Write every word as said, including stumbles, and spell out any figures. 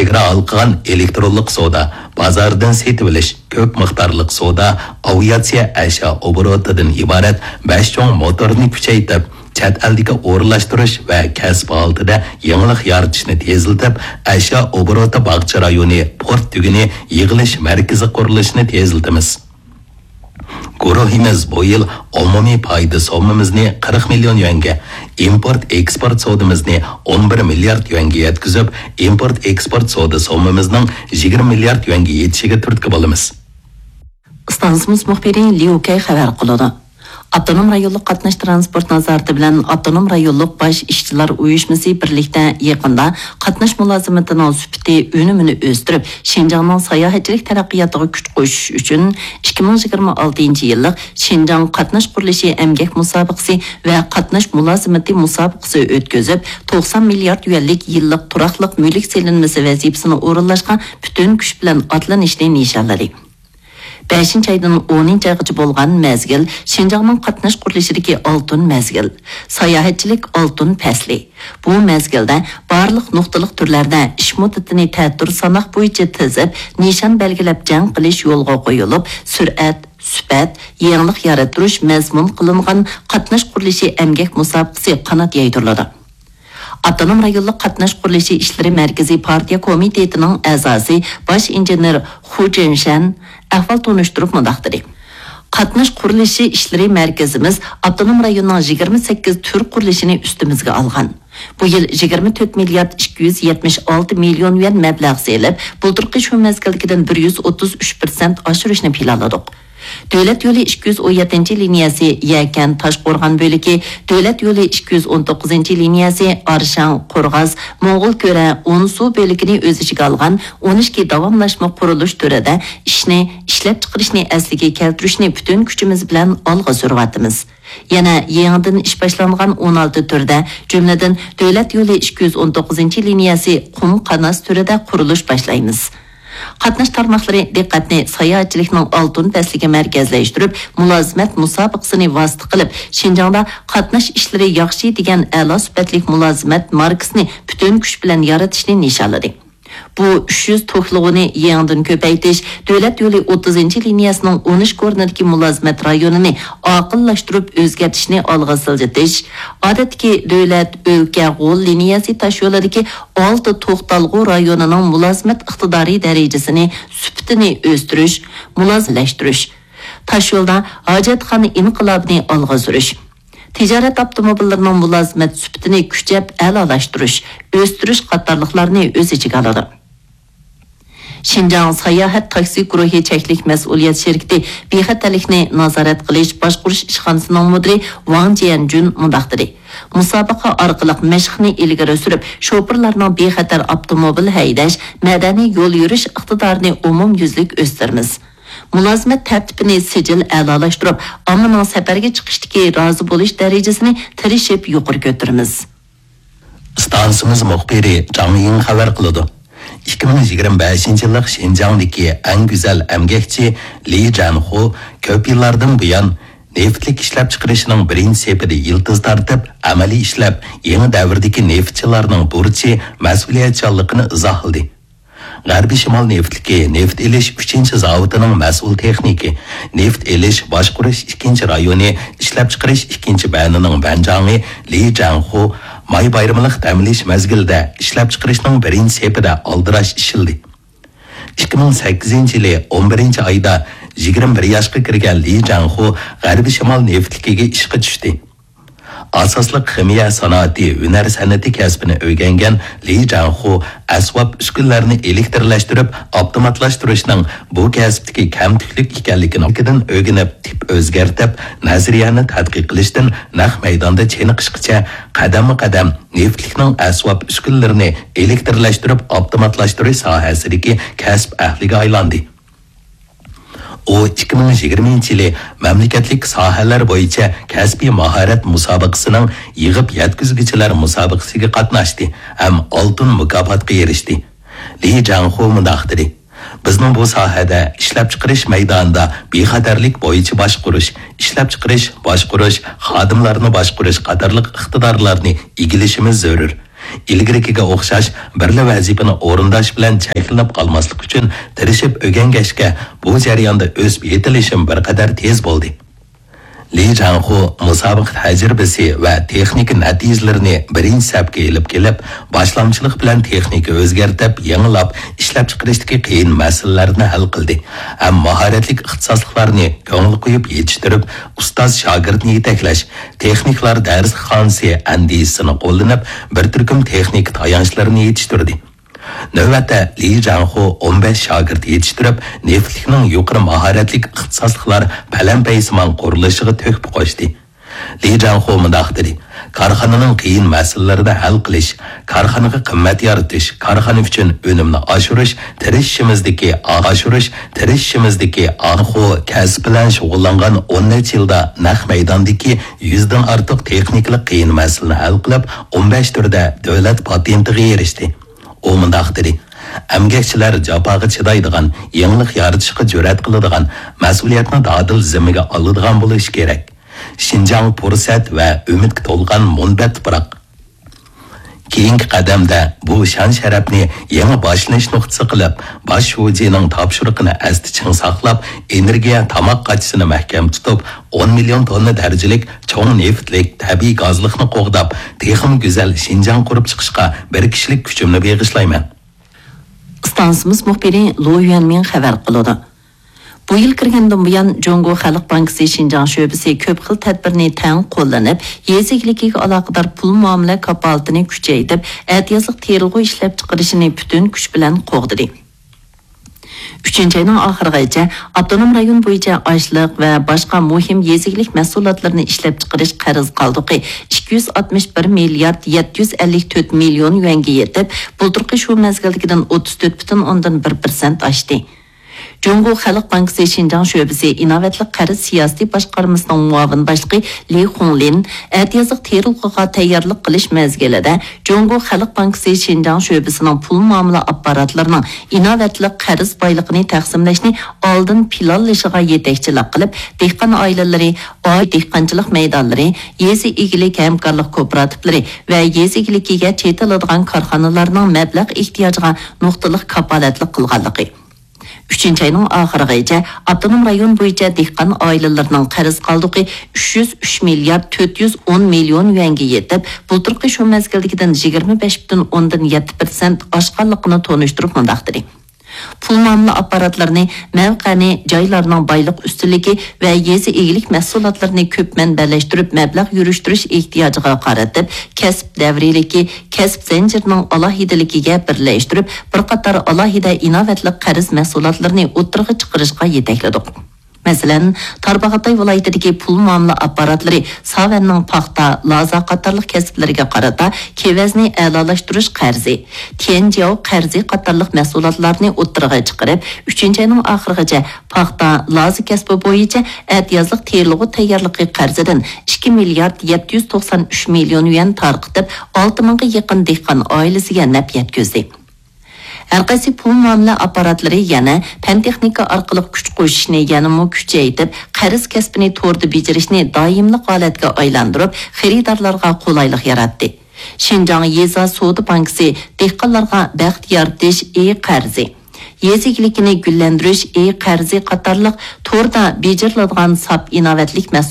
چېگرا ھالقىغان ئېلېكترونلۇق سودا، بازاردىن سېتىۋېلىش، كۆپ مىقدارلىق سودا، ئاۋىئاتسىيە ئەشيا ئوبوروتىدىن ئىبارەت بەش چوڭ موتورنى كۈچەيتىپ، چەت ئەلدىكى ئورۇنلاشتۇرۇش ۋە كەسىپ ھالىتىدە يېڭىلىق يارىتىشنى تېزلىتىپ، ئەشيا ئوبوروتى باغچە رايونى، پورت تۈگۈنى، يىغىلىش مەركىزى قۇرۇلۇشىنى تېزلىتىمىز. گۇرۇھىمىز بۇ يىل ئومۇمىي پايدا سوممىمىزنى قىرىق مىليون يۈەنگە، ئىمپورت ئېكسپورت سودىمىزنى ئون بىر مىليارد يۈەنگە يەتكۈزۈپ، ئىمپورت ئېكسپورت سودا سوممىمىزنىڭ يىگىرمە مىليارد يۈەنگە يېتىشىگە تۈرتكە بولىمىز. ئىستانسىمىز مۇخبىرى ليۇ كەي خەۋەر قىلىدۇ. ئاپتونوم رايونلۇق قاتناش تىرانسپورت نازارىتى بىلەن ئاپتونوم رايونلۇق باش ئىشچىلار ئۇيۇشمىسى بىرلىكتە يېقىندا قاتناش مۇلازىمىتىنىڭ سۈپىتى، ئۈنۈمىنى ئۆستۈرۈپ، شىنجاڭنىڭ ساياھەتچىلىك تەرەققىياتىغا كۈچ قوشۇش ئۈچۈن ئىككى مىڭ يىگىرمە ئالتىنچى يىللىق شىنجاڭ قاتناش قۇرۇلۇشى ئەمگەك مۇسابىقىسى ۋە قاتناش مۇلازىمىتى مۇسابىقىسى ئۆتكۈزۈپ، توقسان مىليارد يۈەنلىك يىللىق تۇراقلىق مۈلۈك سېلىنمىسى ۋەزىپىسىنى ئورۇنلاشقا پۈتۈن كۈچ بىلەن ئاتلىنىشنى نىشانلىدى. بەشىنچى ئايدىن ئونىنچى ئايغىچە بولغان مەزگىل شىنجاڭنىڭ قاتناش قۇرۇلۇشىدىكى ئالتۇن مەزگىل. ساياھەتچىلىك ئالتۇن پەسلى. بۇ مەزگىلدە بارلىق نۇقتىلىق تۈرلەردە ئىش مۇددىتىنى تەتۈر ساناق بويىچە تىزىپ، نىشان بەلگىلەپ جەڭ قىلىش يولغا قويۇلۇپ، سۈرئەت، سۈپەت، يېڭىلىق يارىتىش مەزمۇن قىلىنغان قاتناش قۇرۇلۇشى ئەمگەك مۇسابىقىسى قانات يايدۇرۇلىدۇ. ئاپتونوم رايونلۇق قاتناش قۇرۇلۇشى ئىشلىرى مەركىزى پارتىيە كومىتېتىنىڭ ئەزاسى، باش ئىنژېنېر خۇ جېنشەن ئەھۋال تونۇشتۇرۇپ مۇنداق دېدى: قاتناش قۇرۇلۇشى ئىشلىرى مەركىزىمىز ئاپتونوم رايوننىڭ يىگىرمە سەككىز تۈر قۇرۇلۇشىنى ئۈستىمىزگە ئالغان. بۇ يىل يىگىرمە تۆت مىليارد ئىككى يۈز يەتمىش ئالتە مىليون يۈەن مەبلەغ سېلىپ، بۇلتۇرقى شۇ مەزگىلدىكىدىن بىر يۈز ئوتتۇز ئۈچ پىرسەنت ئاشۇرۇشنى پىلانلىدۇق. دۆلەت يولى ئىككى يۈز ئون يەتتىنچى لىنىيەسى يەكەن تاشقورغان بۆلىكى، دۆلەت يولى ئىككى يۈز ئون توققۇزىنچى لىنىيەسى ئارشاڭ قورغاس موڭغۇل كۆرە ئونسۇ بۆلىكىنى ئۆز ئىچىگە ئالغان ئون ئىككى داۋاملاشما قۇرۇلۇش تۈرىدە ئىشنى، ئىشلەپچىقىرىشنى ئەسلىگە كەلتۈرۈشنى پۈتۈن كۈچىمىز بىلەن ئالغا سۈرۈۋاتىمىز. يەنە يېڭىدىن ئىش باشلانغان ئون ئالتە تۈردە، جۈملىدىن دۆلەت يولى ئىككى يۈز ئون توققۇزىنچى لىنىيەسى قۇم قاناس تۈرىدە قۇرۇلۇش باشلايمىز. قاتناش تارماقلىرى دىققەتنى ساياھەتچىلىكنىڭ ئالتۇن پەسلىگە مەركەزلەشتۈرۈپ، مۇلازىمەت مۇسابىقىسىنى ۋاسىتە قىلىپ، شىنجاڭدا قاتناش ئىشلىرى ياخشى دېگەن ئەلا سۈپەتلىك مۇلازىمەت ماركىسىنى پۈتۈن كۈچ بىلەن يارىتىشنى نىشانلىدى. بۇ ئۈچ يۈز توكلىغۇنى يېڭىدىن كۆپەيتىش، دۆلەت يولى ئوتتۇزىنچى لىنىيەسىنىڭ ئون ئىككى ئورنىدىكى مۇلازىمەت رايونىنى ئاقىللاشتۇرۇپ ئۆزگەرتىشنى ئالغا سىلجىتىش، ئادەتتىكى دۆلەت، ئۆلكە، غول لىنىيەسى تاشيولىدىكى ئالتە توختالغۇ رايونىنىڭ مۇلازىمەت ئىقتىدارى دەرىجىسىنى، سۈپىتىنى ئۆستۈرۈش، مۇلازىملەشتۈرۈش، تاشيولدا ھاجەتخانا ئىنقىلابىنى ئالغا سۈرۈش، تىجارەت ئاپتوموبىللىرىنىڭ مۇلازىمەت سۈپىتىنى كۈچەپ ئەلالاشتۇرۇش، ئۆستۈرۈش قاتارلىقلارنى ئۆز ئىچىگە ئالىدۇ. شىنجاڭ ساياھەت تاكسى گۇرۇھى چەكلىك مەسئۇلىيەت شىركىتى بىخەتەرلىكنى نازارەت قىلىش باشقۇرۇش ئىشخانىسىنىڭ مۇدىرى ۋاڭ جيەنجۈن مۇنداق دېدى: مۇسابىقە ئارقىلىق مەشىقنى ئىلگىرى سۈرۈپ، شوپۇرلارنىڭ بىخەتەر ئاپتوموبىل ھەيدەش، مەدەنىي يول يۈرۈش ئىقتىدارىنى ئومۇميۈزلۈك ئۆستۈرىمىز. مۇلازىمەت تەرتىپىنى سىجىل ئەلالاشتۇرۇپ، ئاممىنىڭ سەپەرگە چىقىشتىكى رازى بولۇش دەرىجىسىنى تىرىشىپ يۇقىرى كۆتۈرىمىز. ئىستانسىمىز مۇخبىرى جاڭ يىڭ خەۋەر قىلىدۇ. ئىككى مىڭ يىگىرمە بەشىنچى يىللىق شىنجاڭدىكى ئەڭ گۈزەل ئەمگەكچى لى جەنخۇ كۆپ يىللاردىن بۇيان نېفىتلىك ئىشلەپچىقىرىشنىڭ بىرىنچى سېپىدە يىلتىز تارتىپ، ئەمەلىي ئىشلەپ، يېڭى دەۋردىكى نېفىتچىلارنىڭ بۇرچى، مەسئۇلىيەتچانلىقىنى ئىزاھلىدى. غەربىي شىمال نېفىتلىكى نېفىت ئېلىش ئۈچىنچى زاۋۇتىنىڭ مەسئۇل تېخنىكى، نېفىت ئېلىش باشقۇرۇش ئىككىنچى رايونى ئىشلەپچىقىرىش ئىككىنچى بەنىنىڭ بەنجاڭى لى جەنخۇ ماي بايرىملىق دەم ئېلىش مەزگىلىدە ئىشلەپچىقىرىشنىڭ بىرىنچى سېپىدە ئالدىراش ئىشلىدى. ئىككى مىڭ سەككىزىنچى يىلى ئون بىرىنچى ئايدا يىگىرمە بىر ياشقا كىرگەن لى جەنخۇ غەربىي شىمال نېفىتلىكىگە ئىشقا چۈشتى. ئاساسلىق خىمىيە سانائىتى ھۈنەر سەنئىتى كەسپىنى ئۆگەنگەن لى جاڭخۇ ئەسۋاب ئۈسكۈنىلەرنى ئېلېكترلەشتۈرۈپ ئاپتوماتلاشتۇرۇشنىڭ بۇ كەسىپتىكى كەمتۈكلۈك ئىكەنلىكىنى ئۆگىنىپ، تىپ ئۆزگەرتىپ، نەزەرىيەنى تەتقىق قىلىشتىن نەق مەيداندا چېنىقىشقىچە قەدەممۇ قەدەم نېفىتلىكنىڭ ئەسۋاب ئۈسكۈنىلىرىنى ئېلېكترلەشتۈرۈپ ئاپتوماتلاشتۇرۇش ساھەسىدىكى كەسىپ ئەھلىگە ئايلاندى. ئۇ ئىككى مىڭ يىگىرمىنچى يىلى مەملىكەتلىك ساھەلەر بويىچە كەسپىي ماھارەت مۇسابىقىسىنىڭ يىغىپ يەتكۈزگۈچىلەر مۇسابىقىسىگە قاتناشتى ھەم ئالتۇن مۇكاپاتقا ئېرىشتى. لى جاڭخۇ مۇنداق دېدى: بىزنىڭ بۇ ساھەدە ئىشلەپچىقىرىش مەيدانىدا بىخەتەرلىك بويىچە باشقۇرۇش، ئىشلەپچىقىرىش، باشقۇرۇش، خادىملارنى باشقۇرۇش قاتارلىق ئىقتىدارلارنى ئىگىلىشىمىز زۆرۈر. ئىلگىرىكىگە ئوخشاش بىرلا ۋەزىپىنى ئورۇنداش بىلەن چەكلىنىپ قالماسلىق ئۈچۈن تىرىشىپ ئۆگەنگەچكە، بۇ جەرياندا ئۆسۈپ يېتىلىشىم بىر قەدەر تېز بولدى. لى جاڭخۇ مۇسابىقە تەجرىبىسى ۋە تېخنىكا نەتىجىلىرىنى بىرىنچى سەپكە ئېلىپ كېلىپ، باشلامچىلىق بىلەن تېخنىكا ئۆزگەرتىپ، يېڭىلاپ، ئىشلەپچىقىرىشتىكى قىيىن مەسىلىلەرنى ھەل قىلدى ھەم ماھارەتلىك ئىختىساسلىقلارنى كۆڭۈل قويۇپ يېتىشتۈرۈپ، ئۇستاز شاگىرتنى يېتەكلەش، تېخنىكلار دەرسخانىسى ئەندىزىسىنى قوللىنىپ، بىر تۈركۈم تېخنىكا تايانچلىرىنى يېتىشتۈردى. نۆۋەتتە، لى جاڭخۇ ئون بەش شاگىرت يېتىشتۈرۈپ، نېفىتلىكنىڭ يۇقىرى ماھارەتلىك ئىختىساسلىقلار پەلەمپەيسىمان قۇرۇلۇشىغا تۆھپە قوشتى. لى جاڭخۇ مۇنداق دېدى: كارخانىنىڭ قىيىن مەسىلىلىرىنى ھەل قىلىش، كارخانىغا قىممەت يارىتىش، كارخانا ئۈچۈن ئۈنۈمنى ئاشۇرۇش، تىرىشىشىمىزدىكى ئاشۇرۇش، تىرىشىشىمىزدىكى ئاخۇ كەسىپ بىلەن شۇغۇللانغان ئون نەچچە يىلدا نەق مەيداندىكى يۈزدىن ئارتۇق تېخنىكىلىق قىيىن مەسىلىنى ھەل قىلىپ، ئون بەش تۈردە دۆلەت پاتېنتىغا ئېرىشتى. ئۇ مۇنداق دېدى: ئەمگەكچىلەر جاپاغا چىدايدىغان، يېڭىلىق يارىتىشقا جۈرئەت قىلىدىغان، مەسئۇلىيەتنى دادىل زىممىگە ئالىدىغان بولۇشى كېرەك. شىنجاڭ پۇرسەت ۋە ئۈمىدكە تولغان مۇنبەت تۇپراق. كېيىنكى قەدەمدە بۇ شان-شەرەپنى يېڭى باشلىنىش نۇقتىسى قىلىپ، باش شۇجىنىڭ تاپشۇرۇقىنى ئەستە چىڭ ساقلاپ، ئېنېرگىيە تاماق قاچىسىنى مەھكەم تۇتۇپ، ئون مىليون توننا دەرىجىلىك چوڭ نېفىتلىك تەبىئىي گازلىقنى قوغداپ، تېخىمۇ گۈزەل شىنجاڭ قۇرۇپ چىقىشقا بىر كىشىلىك كۈچۈمنى بېغىشلايمەن. ئىستانسىمىز مۇخبىرى لو يۈەنمىڭ خەۋەر قىلىدۇ. بۇ يىل كىرگەندىن بۇيان، جۇڭگو خەلق بانكىسى شىنجاڭ شۆبىسى كۆپ خىل تەدبىرنى تەڭ قوللىنىپ، يېزا ئىگىلىكىگە ئالاقىدار پۇل مۇئامىلە كاپالىتىنى كۈچەيتىپ، ئەتىيازلىق تېرىلغۇ ئىشلەپچىقىرىشىنى پۈتۈن كۈچ بىلەن قوغدىدى. ئۈچىنچى ئاينىڭ ئاخىرىغىچە ئاپتونوم رايون بويىچە ئاشلىق ۋە باشقا مۇھىم يېزا ئىگىلىك مەھسۇلاتلىرىنى ئىشلەپچىقىرىش قەرز قالدۇقى ئىككى يۈز ئاتمىش بىر مىليارد يەتتە يۈز ئەللىك تۆت مىليون يۈەنگە يېتىپ، بۇلتۇرقى شۇ مەزگىلدىكىدىن ئوتتۇز تۆت پۈتۈن ئوندىن بىر پىرسەنت ئاشتى. جۇڭگو خەلق بانكىسى شىنجاڭ شۆبىسى ئىناۋەتلىك قەرز سىياسىتى باشقارمىسىنىڭ مۇئاۋىن باشلىقى لى خۇڭلىن ئەتىيازلىق تېرىلغۇغا تەييارلىق قىلىش مەزگىلىدە، جۇڭگو خەلق بانكىسى شىنجاڭ شۆبىسىنىڭ پۇل مۇئامىلە ئاپپاراتلىرىنىڭ ئىناۋەتلىك قەرز بايلىقىنى تەقسىملەشنى ئالدىن پىلانلىشىغا يېتەكچىلىك قىلىپ، دېھقان ئائىلىلىرى، ئائىلە دېھقانچىلىق مەيدانلىرى، يېزا ئىگىلىك ھەمكارلىق كوپىراتىپلىرى ۋە يېزا ئىگىلىكىگە چېتىلىدىغان كارخانىلارنىڭ مەبلەغ ئېھتىياجىغا نۇقتىلىق كاپالەتلىك قىلغانلىقى. ئۈچىنچى ئاينىڭ ئاخىرىغىچە ئاپتونوم رايون بويىچە دېھقان ئائىلىلىرىنىڭ قەرز قالدۇقى ئۈچ يۈز ئۈچ مىليارد تۆت يۈز ئون مىليون يۈەنگە يېتىپ، بۇلتۇرقى شۇ مەزگىلدىكىدىن يىگىرمە بەش پۈتۈن ئوندىن يەتتە پىرسەنت ئاشقانلىقىنى تونۇشتۇرۇپ مۇنداق دېدى: پۇل مۇئامىلە ئاپپاراتلىرىنى مەۋقەنى جايلارنىڭ بايلىق ئۈستۈنلۈكى ۋە يېزا ئىگىلىك مەھسۇلاتلىرىنى كۆپ مەنبەلەشتۈرۈپ مەبلەغ يۈرۈشتۈرۈش ئېھتىياجىغا قارىتىپ، كەسىپ دەۋرىيلىكى، كەسىپ زەنجىرىنىڭ ئالاھىدىلىكىگە بىرلەشتۈرۈپ، بىر قاتار ئالاھىدە ئىناۋەتلىك قەرز مەھسۇلاتلىرىنى ئوتتۇرىغا چىقىرىشقا يېتەكلىدۇق. مەسىلەن، تارباغاتاي ۋىلايىتىدىكى پۇل مۇئامىلە ئاپپاراتلىرى ساۋەننىڭ پاختا، لازا قاتارلىق كەسىپلىرىگە قارىتا كېۋەزنى ئەلالاشتۇرۇش قەرزى، تيەنجياۋ قەرزى قاتارلىق مەھسۇلاتلارنى ئوتتۇرىغا چىقىرىپ، ئۈچىنچى ئاينىڭ ئاخىرىغىچە پاختا، لازا كەسپى بويىچە ئەتىيازلىق تېرىلغۇ تەييارلىقى قەرزىدىن ئىككى مىليارد يەتتە يۈز توقسان ئۈچ مىليون يۈەن تارقىتىپ، ئالتە مىڭغا يېقىن دېھقان ئائىلىسىگە نەپ يەتكۈزدى. ھەرقايسى پۇل مۇئامىلە ئاپپاراتلىرى يەنە پەن-تېخنىكا ئارقىلىق كۈچ قوشۇشنى يەنىمۇ كۈچەيتىپ، قەرز كەسپىنى توردا بېجىرىشنى دائىملىق ھالەتكە ئايلاندۇرۇپ، خېرىدارلارغا قولايلىق ياراتتى. شىنجاڭ يېزا سودا بانكىسى دېھقانلارغا بەخت يارىتىش ئى قەرزى، يېزا ئىگىلىكىنى گۈللەندۈرۈش ئى قەرزى قاتارلىق توردا بېجىرىلىدىغان ساپ ئىناۋەتلىك مەھسۇلاتلارنى